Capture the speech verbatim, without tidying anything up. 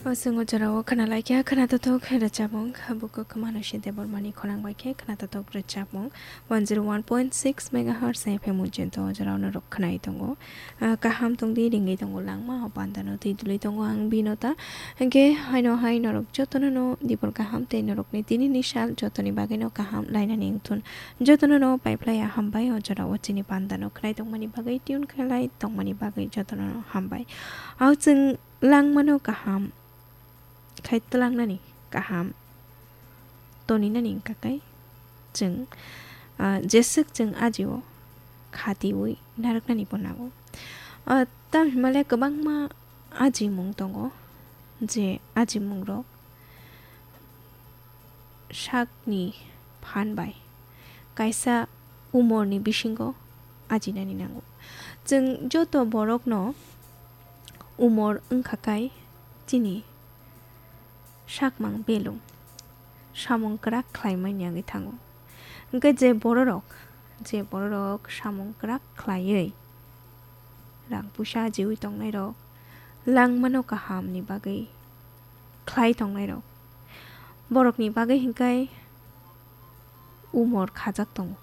Chwng o jorao khwnalaikha khwnathothok rwchapmung, buko Khumanu Side Bormani khorang bai khe khwnathothok rwchapmung one zero one point six megahertz F M ujinto o jorao norok khwnai tongo. Ah, kaham tongdi, ringwi tongo langma, o pandano twi dului tongo ang Binota. Hwnkhe haino hai norok jotono no dibor kaham tei norokni tinini sal jotoni bagwino kaham lainani wngthun. Jotono no paiphlaiya hambai o jorao chini pandano khwnai tongmani bagwi, tune khlai tongmani bagwi jotono no hambai. O chwng langmano kaham khai twlangnani kaham toninani wngkha khe chwng, ah, jeswk chwng ajio khatiwi narwknani bo nango. Ah, tamhinmale kwbangma ajimung tongo, je ajimungrok sakni phan bai kaisa umorni bisingo ajinani nango. Chwng joto borokno umor wngkha khe chini sakmang belum samung kwrak khlaimani wngwi thango. Hwnkhe je bororok, je bororok samung kwrak khlaiwi rang puisa ajiwi tongnairok, langmano kahamni bagwi khlai tongnairok, borokni bagwi hwnkhe umor khajak tongo.